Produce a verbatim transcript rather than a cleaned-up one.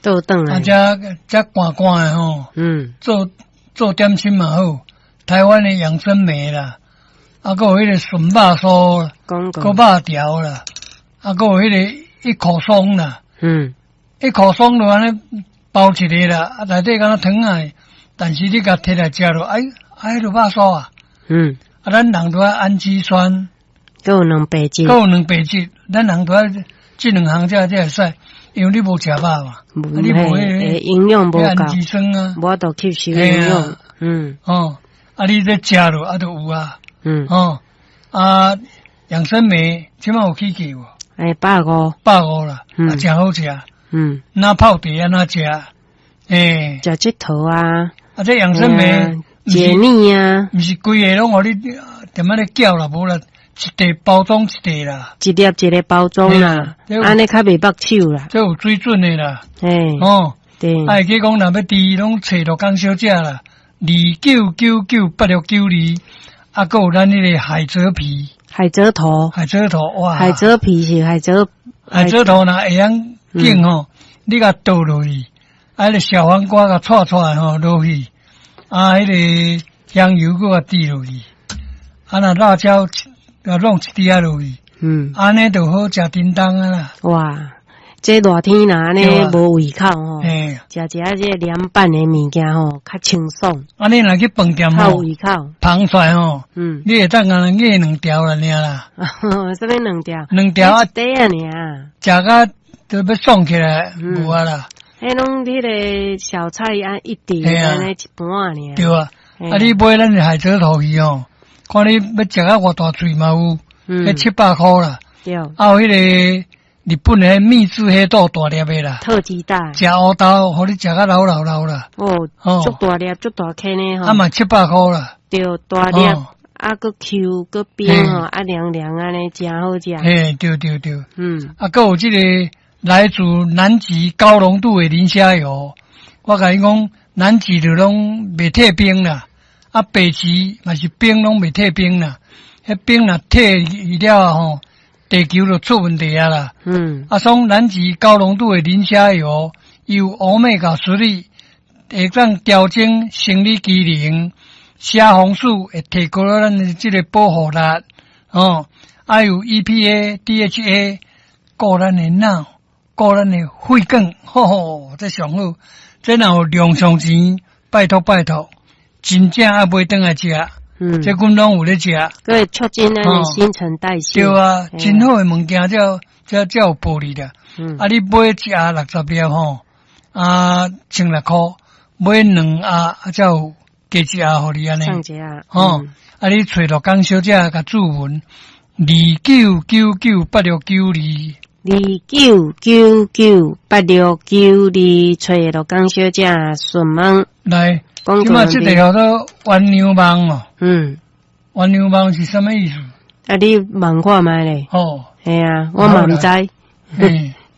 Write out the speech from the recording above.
倒轉啊，來，這這寒寒的吼，嗯，做做點心嘛好，台灣的養生梅啦，啊，閣有彼個筍肉酥，講閣過，肉條啦，啊，閣有彼個一口鬆啦，嗯，一口鬆就按呢包一个啦，啊，內底敢若糖仔，但是你共提來食落，哎，啊，彼個肉酥啊，嗯，啊，咱人都愛氨基酸，閣有蛋白質，閣有蛋白質，咱人都愛這兩項才才會使，因為你無食肉嘛，啊，你無嘿彼個營養無彼氨基夠，酸啊，無法度吸收營養，嗯哦，啊，你這食落啊，就有啊，嗯，哦，啊，養生梅這擺有起價無？欸，百五，百五啦，嗯啊，誠好食，嗯，若泡茶按怎食？欸，食這桃啊，啊，這養生梅，解膩啊，毋是規个攏予你踮仔咧攪啦，無啦，一袋包裝一袋啦，一粒一个包裝啦，按呢較袂縛手啦，這有水準的啦，嘿，哦，對，啊，會記講若欲佇攏揣陸江小姐啦，二九九九八六九二，啊，閣有咱彼个海蜇皮，海蜇頭，海蜇頭，哇，海蜇皮是海蜇，海蜇頭若會曉揀吼，你共倒落去，啊，彼个小黃瓜共掣掣吼落去，啊，彼个香油閣共滴落去，啊，若辣椒共弄一滴仔落去，嗯，按呢就好食叮當啊啦。哇，這熱天若按呢無胃口吼，嘿，食一下這個涼拌的物件吼，較清爽。啊，你若去飯店較有胃口，捧出來吼，嗯，你會當共人咬兩條啦，爾啦。啥物兩條？兩條啊，一塊仔爾。食甲都欲爽起來，無啊啦。彼攏彼个小菜啊，一碟按呢一盤仔爾。對啊，啊你買咱的海蜇頭去吼，看你欲食甲偌大喙嘛有，彼七百箍啦。對。啊有彼个日本的秘製黑豆大粒的啦，特級大。食烏豆，予你食甲流流流啦。哦，足大粒，足大顆呢吼。啊嘛七百箍啦。對，大粒，啊閣 Q 閣冰吼，啊涼涼按呢，誠好食。嘿，對對對。嗯。啊，閣有這個來自南極高濃度的磷蝦油，我共你講，南極就攏袂退冰啦，啊北極嘛是冰攏袂退冰啦，彼冰若退去了吼，地球就出問題啊啦。嗯。啊，所以南極高濃度的磷蝦油，有歐米伽十六，會當調整生理機能，蝦紅素會提高咱的這個保護力，哦，啊有 E P A、D H A，顧咱的腦，顧咱的血管，吼吼，這上好。這若有用上錢，拜託拜託，真正愛買轉來食。嗯，這阮攏有咧食，閣會促進咱的新陳代謝。對啊，真好的物件，才才才有保利啦。嗯，啊，你買一盒六十粒吼，啊，千六箍，買兩盒啊，才有加一盒予你按呢。送一盒。吼，啊，你揣陸江小姐共注文，二九九九八六九二。二九九九八六九二，揣陸江小姐詢問。來，這擺這個叫做鴛鴦網哦。嗯，鴛鴦網是啥物意思？啊，你問看覓咧？哦，嘿啊，我嘛毋知。嗯，